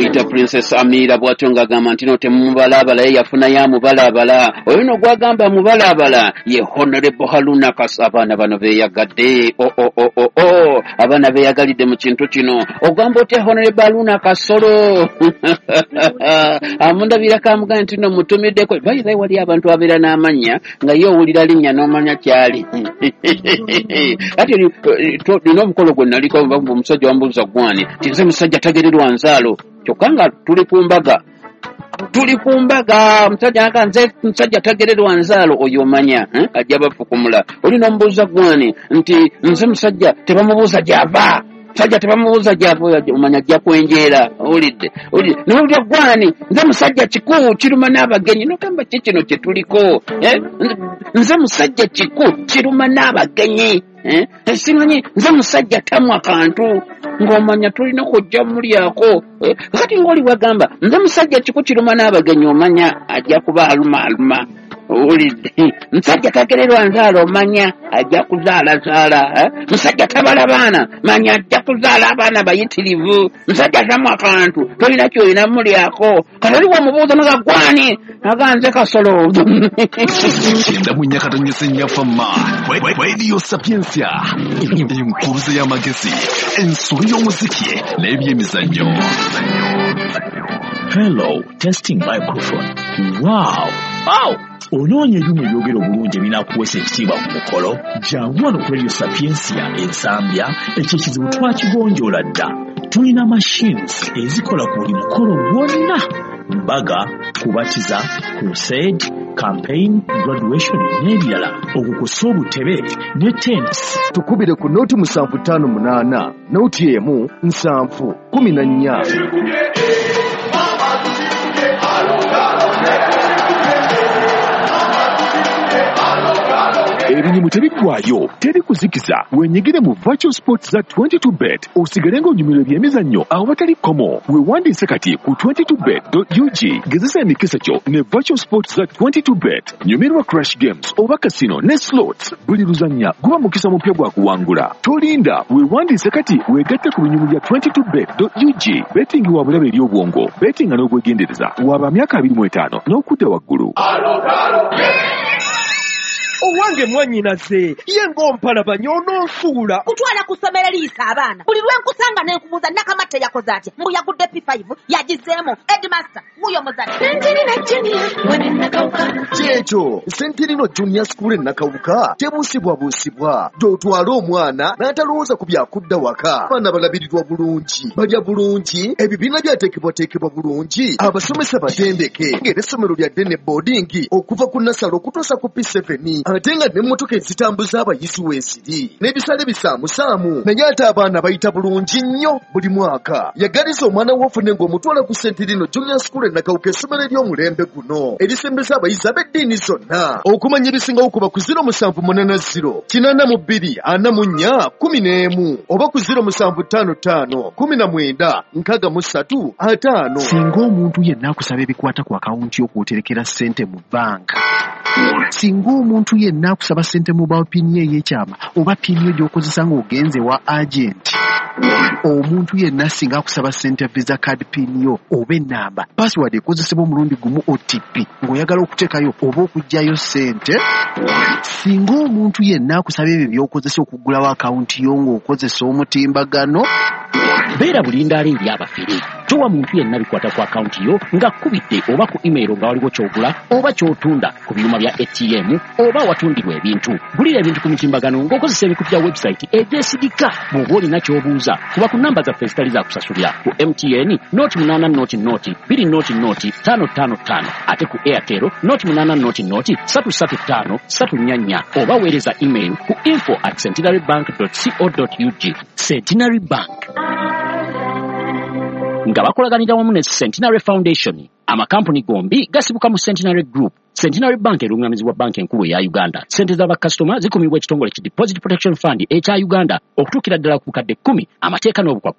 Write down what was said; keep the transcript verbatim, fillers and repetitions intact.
Bamuyita Princess Amira, bw'atyo ng'agamba nti no temumubalaabala, ye yafunayo amubalaabala. Oyo no gwagamba mubalaabala ye Honorable Haruna Kas. Abaana bano beeyagadde, o o o o o, abaana beeyagalidde mu kintu kino. Ogamba otya Honorable Haruna Kasolo? Amundabirako amugamba nti no mutumiddeko. Bayizayi, wali abantu abeera n'amannya nga ye owulira linnya n'omanya kyali. Ati nina omukolo gwe naliko, omusajja wambuuza gwani, ti nze musajja tagererwa nzaalo, kyokka nga tuli ku mbaga, tuli ku mbaga, omusajja nga nze musajja tagererwa nzaalo. Oyo omanya ajja bafukumula. Oli n'omubuuza gwani, nti nze musajja tebamubuuza gy'ava, musajja tebamubuuza gy'ava, omanya ajja kwenjeera. Owulidde, owulidde? Nowulira gwani, nze musajja kiku kiruma n'abagenyi. Nogamba ki kino kye tuliko? Nze musajja kiku kiruma n'abagenyi, simanyi nze musajja tamwa kantu, ng'omanya tulina kujja mulyako. Kati ng'oli wagamba nze musajja kiku kiruma n'abagenyi, omanya ajja kuba aluma aluma. Owulidde? Musajja tagererwa nzaala, omanya ajja kuzaalazaala. Musajja tabala baana, manya ajja kuzaala abaana bayitirivu. Musajja tamwa kantu, tolina kyolina mulyako. Kati oli bwomubuuza naga gwani, naga nze Kasolo. Kyenda mu nnya katonyese nnyafamma, Radio Sapientia, enkuluze y'amagezi, ensolo y'omuziki n'ebyemizannyo. Hello, testing microphone. Wow. Wow. Onoonya ebyuma ebyogera obulungi ebinaakuweesa ekitiibwa ku mukolo? Jangu wano ku Radio Sapientia Ensambya, ekyo ekizibu twakigonjoola dda. Tulina machines ezikola ku buli mukolo gwonna: mbaga, kubatiza, crusade, campaign, graduation n'ebirala, okukosa obutebe ne tents. Tukubire ku noti musanvu ttaano munaana noti emu nsanvu kumi na nnya. Ebinyumu tebiggwayo, teri kuzikiza. Wenyigire mu virtual sports za twenty-two bet, osigale ng'onyumirwa ebyemizannyo awatali kkomo. Weewandiise kati ku twenty-two bet dot U G. Gezesa emikisa gyo ne virtual sports za twenty-two bet. Nyumirwa crash games oba casino ne slots. Buli luzannya guba mukisa mupya gwa kuwangula. Tolinda, weewandiise kati weegatte ku binyumu bya twenty-two bet dot U G. Betting wa bulabe eri obwongo. Betting n'obwegendereza. Waba myaka abiri mu etaano n'okudda waggulu. Owange mwannyinaze, ye ng'ompalabanya ononsuula. Kutwala ku ssomero eriyisa abaana. Buli lwe nkusanga ne nkubuuza Nakamatte yakoze atya, mbu yagudde P five yagizeemu. Headmaster wuyo muzadde. Kyekyo, Sentinino Junior School e Nakawuka tebuusibwabuusibwa. Gy'otwala omwana n'atalowooza ku byakudda waka. Abaana balabirirwa bulungi, balya bulungi, ebibiina byateekebwateekebwa bulungi, abasomesa batendeke, ng'era essomero lya ddene boarding okuva ku nursery okutuusa ku P seven, ate nga n'emmotoka ezitambuza abayizi weeziri n'ebisale bisaamusaamu, naye ate abaana bayita bulungi nnyo buli mwaka. Yagaliza omwana wo ofune ng'omutwala ku Sentinino Junior School e Nakawuka, essomero ery'omulembe guno erisembeza abayizi ab'eddiini zonna. Okumanya ebisingawo kuba ku zero musanvu munaana zero kinaana mu bbiri ana mu nnya kumi n'emu oba ku zero musanvu ttaano ttaano kumi na mwenda nkaaga mu ssatu ataano. Singa omuntu yenna akusaba ebikwata ku akawunti y'okwoterekera ssente mu banka, singa omuntu yenna akusaba ssente mobile PIN ye ey'ekyama oba PIN yo gy'okozesa ng'ogenze wa agenti, omuntu yenna singa akusaba ssente Visa card PIN yo oba ennamba password ekozesebwa omulundi gumu O T P ng'oyagala okuteekayo oba okuggyayo ssente, singa omuntu yenna akusaba ebyo by'okozesa okuggulawo akawunti yo ng'okozesa omutimbagano, Beera bulindaala eri abafere. Towa muntu yenna bikwata ku akawunti yo ng'akkubidde oba ku email nga waliwo ky'ogula oba ky'otunda ku byuma bya A T M oba awatundirwa ebintu. Gulira ebintu ku mitimbagano ng'okozesa emikutu gya website egyesigika. Bw'oba olina ky'obuuza, kuba ku namba zaffe ezitali za kusasulira: ku M T N noti munaana noti noti bbiri noti noti ttaano ttaano ttaano, ate ku Airtel noti munaana noti noti ssatu ssatu ttaano ssatu nnya nnya, oba weereza email ku info at centenary bank co ug. Centenary Bank nga bakolaganira wamu ne Centenary Foundation. Amakampuni gombi gasibuka mu Centenary Group. Centenary Bank erungamizibwa Banka Enkulu eya Uganda. Sente z'abakasitoma zikumibwa ekitongole ki Deposit Protection Fund ekya Uganda okutuukira ddala ku bukadde kkumi. Amateeka n'obukwakkulizo.